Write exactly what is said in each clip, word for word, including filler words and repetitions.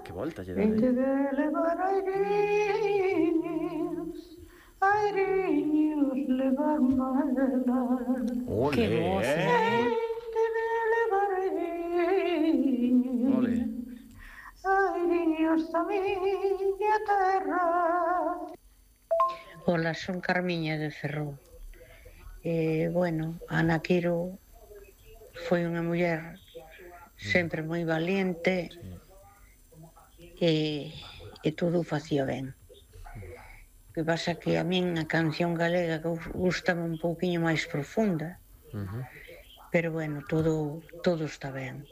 Que volta lle e te de levar airiños, airiños levar malas. Que voz, eh? Te de levar airiños, airiños da miña terra. Ola, son Carmiña de Ferrol. Eh, bueno, Ana Quiro foi unha muller sempre moi valiente e, e todo o facía ben. O que pasa que a min a canción galega gustame un pouquiño máis profunda, pero bueno, todo todo está ben.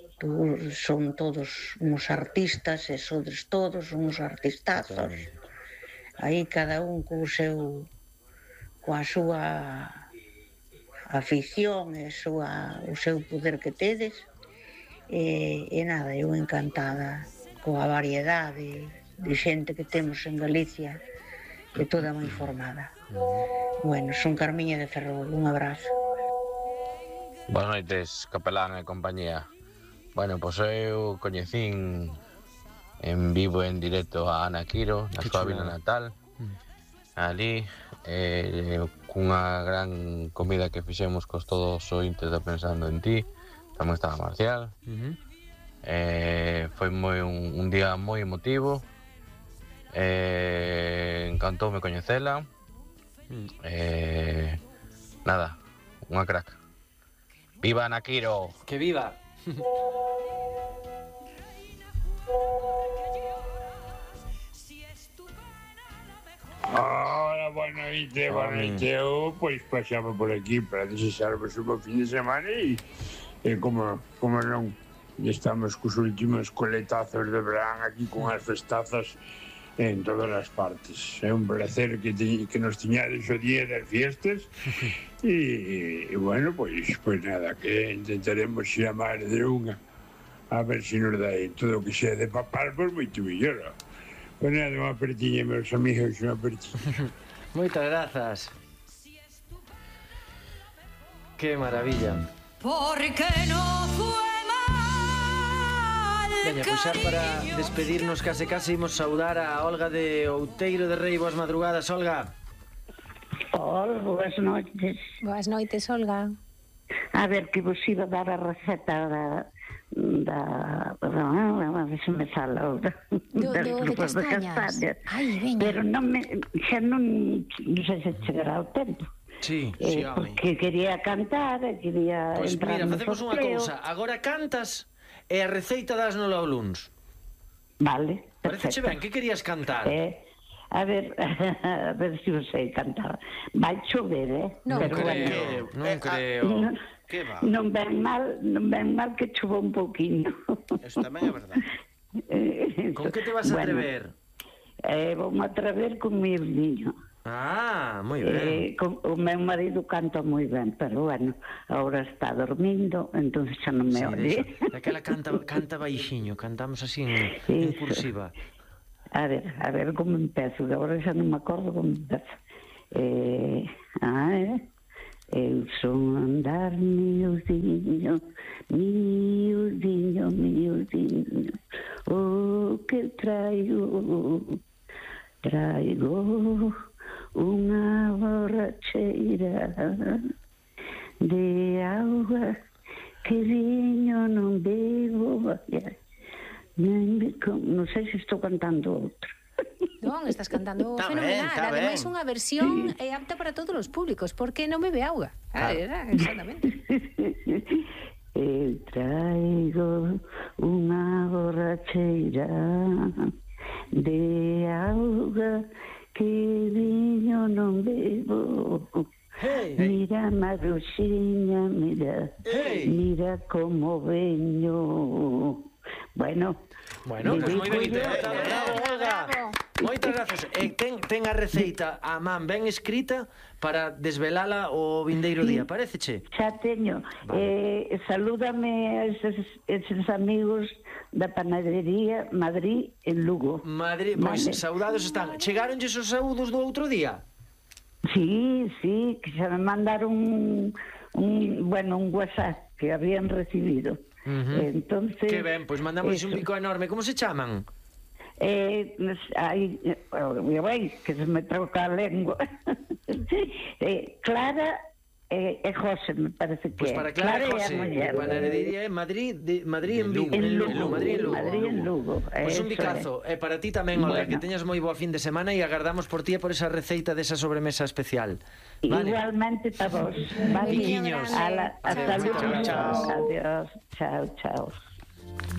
Son todos uns artistas e sodes todos uns artistazos. Aí cada un co seu coa súa afición e súa, o seu poder que tedes e, e nada, eu encantada coa variedade de xente que temos en Galicia e toda moi formada. Bueno, son Carmiña de Ferrol, un abrazo. Boas noites, capelán e compañía. Bueno, pois eu coñecín en vivo e en directo a Ana Quiro na súa vila natal, ali, eh, cunha gran comida que fixemos cos todos os ointes de Pensando en Ti. Tamén estaba Marcial. Uh-huh. eh, foi moi un, un día moi emotivo. eh, encantoume coñecela. uh. eh, nada, unha crack. Viva Ana Quiro. Que viva. Hola, boa noite, boa noite. Eu, pois, pasaba por aquí para desexarvos un bo fin de semana e, e como, como non, estamos cos últimos coletazos de verán aquí con as festazas en todas as partes. É un placer que, te, que nos tiñades o día das fiestas e, e, bueno, pois, pois nada, que intentaremos chamar de unha a ver se nos dá todo o que sea de papar, pois moito mellor. Pois nada, unha apertiña, meus amigos, unha apertiña. Moitas grazas. Que maravilla. Porque no fue mal. Veña, pois xa para despedirnos case case imos saudar a Olga de Outeiro de Rei. Boas madrugadas, Olga. Hola, boas noites. Boas noites, Olga. A ver, que vos iba a dar a receta da... da... a ver se me sale ahora. Do, das do, de grupas de castañas. castañas. Ai, veña. Pero non me... xa non... non sei se chegará ao tempo. Sí, eh, sí, home. Porque quería cantar, quería Pois entrar mira, no facemos unha sorteo. cousa. Agora cantas e a receita das no ao luns. Vale, Pareceche ben, que querías cantar? Eh, a ver, a ver se eu sei cantar. Vai chover, eh? Non Pero creo, bueno, non creo. Non, Que va? non ven mal, non ven mal que chova un pouquiño. Eso tamén é verdade. Con que te vas a atrever? Bueno, eh, vou-me atrever con meu niño. Ah, moi Eh, ben. con, o meu marido canta moi ben, pero bueno, agora está dormindo, entón xa non me Sí, oye. Daquela canta, canta baixiño, cantamos así en, en Iso. cursiva. A ver, a ver como empezo, que agora xa non me acordo como empezo. Eh, ah, eh? Eu son andar miudiño, miudiño, miudiño, o que traigo, traigo unha borracheira de auga que viño non bebo, non sei se estou cantando outro. Non, estás cantando Tá fenomenal. ben, tá Ademais, ben. unha versión é apta para todos os públicos, porque non bebe auga. Ah, era, exactamente. Eu traigo unha borracheira de auga que viño non bebo. Hey, mira, Maruxiña, mira, hey. mira como veño. Bueno, Bueno, pois moi ben dedícolle- interpretado, bravo, Olga. Moitas grazas. E ten, ten a receita a man ben escrita para desvelala o vindeiro día, paréceche? Xa teño. Vale. Eh, salúdame a eses, eses amigos da panadería Madrid en Lugo. Madrid, pois Vale. saudados están. Chegáronlles os saúdos do outro día? Sí, sí, que xa me mandaron un, un, bueno, un WhatsApp que habían recibido. Entonces... Que ben, pois mandamos un bico enorme. Como se chaman? Eh, ai, veis que se me troca a lengua. eh, Clara e eh, José, me parece que Pois para Clara, Clara e José, panadería en Madrid, de, Madrid en Vigo, en Lugo, en Lugo, Madrid en Lugo. Madrid en Lugo. Pois un bicazo, e eh, para ti tamén, Olga, bueno, que teñas moi boa fin de semana e agardamos por ti e por esa receita desa sobremesa especial. Vale. Igualmente para vos. Vale. Biquiños. Hasta luego. Chao. Adiós. Chao, chao.